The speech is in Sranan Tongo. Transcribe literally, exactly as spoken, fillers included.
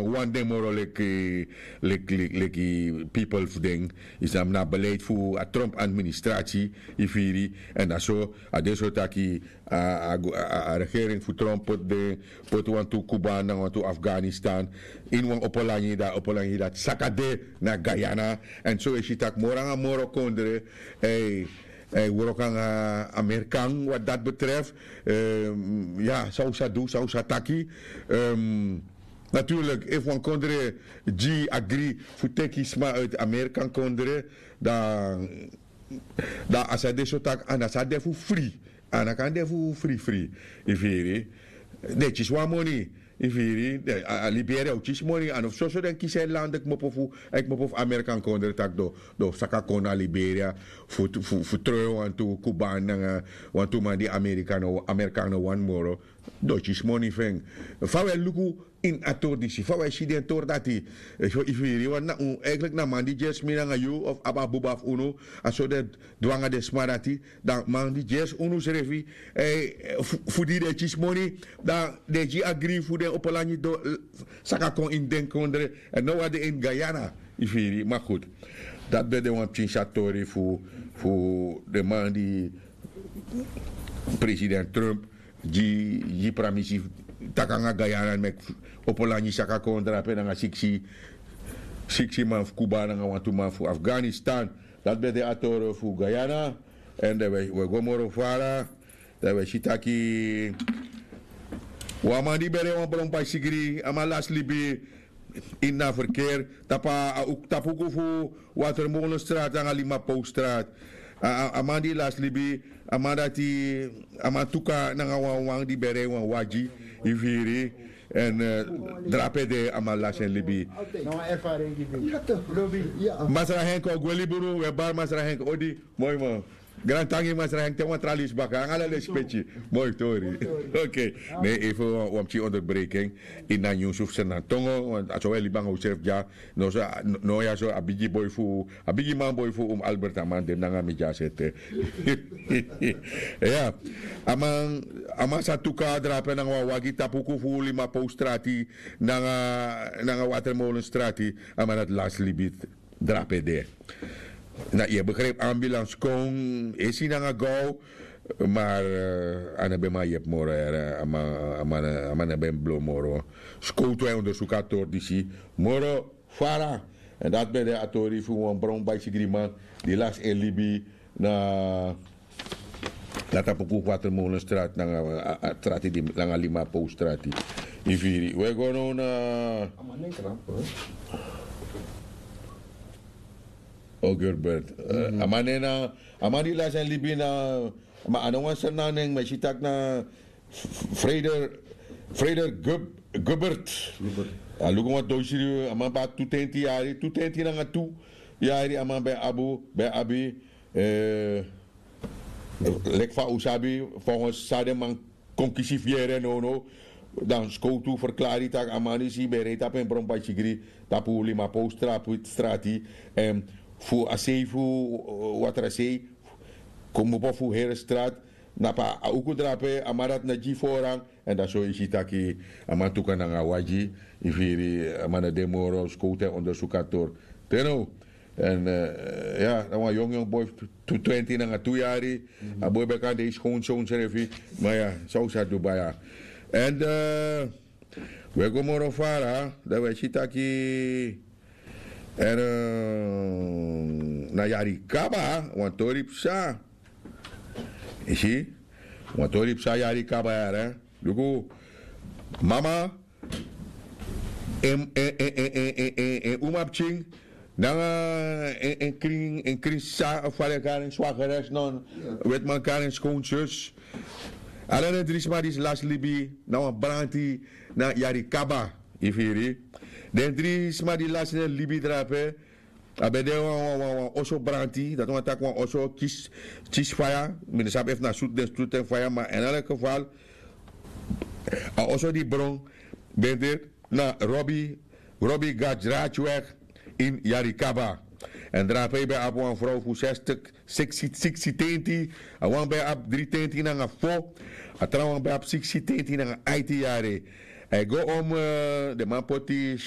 wani den moro leki leki leki leki pipel fu den. Yu sabi na a beleid fu a trump administrasi, yu firi. Èn na so a de so taki a a a a regering fu trump poti den poti wantu kuban nanga wantu afganistan ini wan opo langi dati opo langi dati saka de na guyana. Èn so yu e si tak' moro nanga moro kondre e e wroko nanga amerikan wat dati betref. Ya san un sa du san un sa taki. Naturlik efu wan kondre gi agri fu teki sma uiti amerikan kondre dan dan a sa de so tak' a na sa de fu fri. A na kan de fu fri fri. Yu firi? Den e kisi wan moni. Yu firi? A liberia o kisi moni a no fu soso den kisi en lande kmopo fu en kmopo fu amerikan kondre tak' den o saka kon na liberia fu troi wantu kuban nanga wantu man di amerikan no wani moro. Den o kisi moni fu en. Fa un e luku ini a tori disi fa un e si den tori dati? Efu yu firi wan na un eigenlik na man di gersi mi nanga yu of abi a buba fu unu a so den du nanga den sma dati. Dan man di gersi unu srefi fu di den e kisi moni dan den e gi agri fu den opo langi saka kon ini den kondre. Èn no wan de ini guyana. Yu firi ma gud. Dati ben de wan pikin sa tori fu fu den man di president trump gi gi pramisi taki nanga guyana meki opo langi saka kon drape nanga siksi siksi man fu kuba nanga wantu man fu afganistan. Dati ben de a toro fu guyana. Èn dan wi e go moro fara dan wi e si taki wan man di ben rei wan bron bai sigri a man lasi libi ini a ferker tapu a uku fu watermolenstrat nanga limapowstrat. A man di lasi libi a man dati a man tuka nanga wan wan di ben rei wan wagi. Yu firi? Èn drape de a man lasi en libi. Masra henk o gwe liburu we bari masra henk odi. Moi man. Grantangi masra henk te wan tra lisi baka nanga ala lesi peki. Moi tori. Oke. Ne efu wan pikin onderbreking ini a nyunsu fu sernantongo a so we libi nanga usrefi dya. No so no ya so a bigi boi fu a bigi man boi fu un albert a man de nanga mi dya sete. Ya. A man a man sa tuka drape nanga wan wagi tapu uku fu limapowstrati nanga nanga watermolenstrati. A man dati lasi libi drape de. Na yu e begripi ambulanskon esi nanga gow. Mar a no ben man yepi moro yere a man a man a man no ben blo moro. Skowtu e ondersuku a tori disi moro fara. Èn dati ben de a tori fu wan bron baisigri man di lasi en libi na na tapu kuku watermolenstrati nanga a strati di nanga limapowstrati. Yu firi we go now na o gilbert. A man nen na a man di lasi en libi na ma a no wan sernan nen mi e si taki na freder freder gilbert. A luku wan doisiri a man ben abi tu tenti yari tu tenti nanga tu yari a man ben abi ben abi. Leki fa un sabi folgens san den man kon kisi fu yere nownow. Dan skowtu ferklari tak' a man disi ben rei tapu en bron bai sigri tapu limapowstrati. Èn fu a sei fu watrasei kmopo fu herestrati na pa a uku drape a man dati na gi foran. Èn dan so yu si taki a man tuka nanga a wagi. Yu firi a man na de moro skowtu en ondersuku a tori te now. Èn ya na wan yong yong boi fu twenti nanga tu yari. A boi ben kan de yu skon sonsrefi. Ma ya san un sa du baya. Èn we go moro fara dan we si taki èn na yari kaba wan tori psa. Yu si wan tori psa yari kaba yara. Luku mama en en en en en en en umapikin nanga en en krin en krin sa fale karen swageres non wetman karen skonsus. Ala den dri sma disi lasi libi na wan branti na yari kaba. Yu firi? Den dri sma di lasi den libi drape a ben de wan wan wan oso branti dati wan taki wan oso kisi kisi faya. Mi no sabi efu na sutu den sutu en faya ma en ala kefal a oso di bron ben de na robi robi gadrachweg ini yari kaba. Èn drape yu ben abi wan frow fu sestik siksi tenti. A wan ben abi dri tenti nanga fo. A trawan ben abi siksi tenti nanga aiti yari. A e go om den man poti